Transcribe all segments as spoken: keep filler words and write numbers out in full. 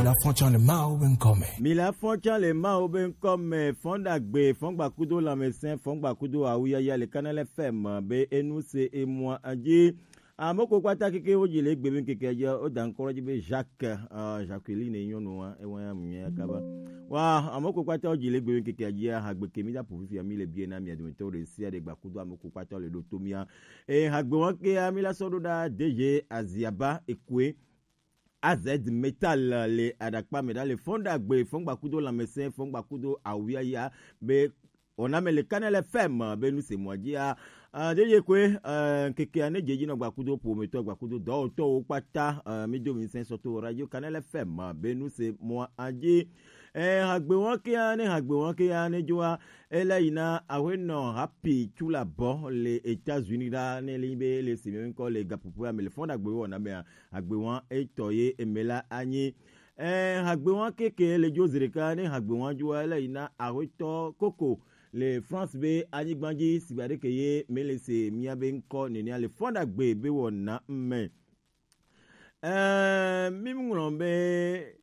La fɔn can le Mawu be ŋkɔ me. Mi la fɔn can le Mawu be ŋkɔ me. Fɔn ɖagbe, fɔn gbakudo lãmesẽ, fɔn gbakudo awuyaya le Kanal F M be enu se emua dzi. Ame ko kpata keke wo dzi le egbe be ŋkeke dzi, wo da ŋkɔ dzi be Jacques, uh, Jacqueline nyɔnua, ewa ya mu nya kaba. Wa, ame ko kpata wo dzi le egbe be ŋkeke dzi, ha gbe ke mi da ƒo fifia mi le bie na mia dometɔ ɖe sia ɖe gbakudo ame ko kpata le ɖo to mia. E ha gbe wa ke ya mi la sɔ ɖo ɖa D J Aziaba Ekue. A Z Metal le aɖakpa me ɖa le fɔn ɖagbe, fɔn gbakudo lãmesẽ, fɔn gbakudo awuyaya be wɔna me le Kanal F M be nu se mɔ dzia. Uh, ɖe ye koe, uh, ŋkekea ne dze dzi nɔ gbakudo ƒometɔ, gbakudo dɔwɔtɔwo kpata, uh, mi do mi sɛ sɔ to Radio Kanal F M be nu se mɔ adzi. Eh, hagbe wɔn kea, ne hagbe wɔn kea, ne dzoa, ele yina awenɔ Happy Chula bɔ le États-Unis ɖa, ne li be le si mi ŋkɔ le gaƒoƒoa me le fɔn ɖagbe wɔna mea, agbe wɔn etɔ ye eme la anyi. Eh, hagbe wɔn keke le dzo zi ɖeka, ne hagbe wɔn dzoa, ele yina awenɔ Koko le France be anyigba dzi, sigba ɖeke ye mele se mía be ŋkɔ nenea le fɔn ɖagbe be wɔna me. Eh, mi ŋlɔ be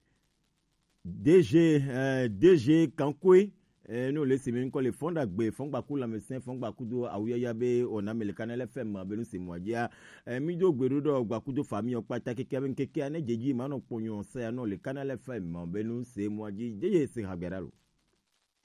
D G, eh, D G Kankwe, eh, no le se mi ŋkɔ le fɔn ɖagbe, fɔn gbaku lãmesẽ, fɔn gbakudo awuyaya be wɔna me le Kanal F M be nu se mɔ dzia. Eh, mi do gbe ɖo ɖɔ gbakudo fami ɔ kpata keke be ŋkekea ne dze dzi ma nɔ kpɔnyɔ se ya nɔ le Kanal F M be nu se mɔ dzi. D J se hagbe ɖa lo.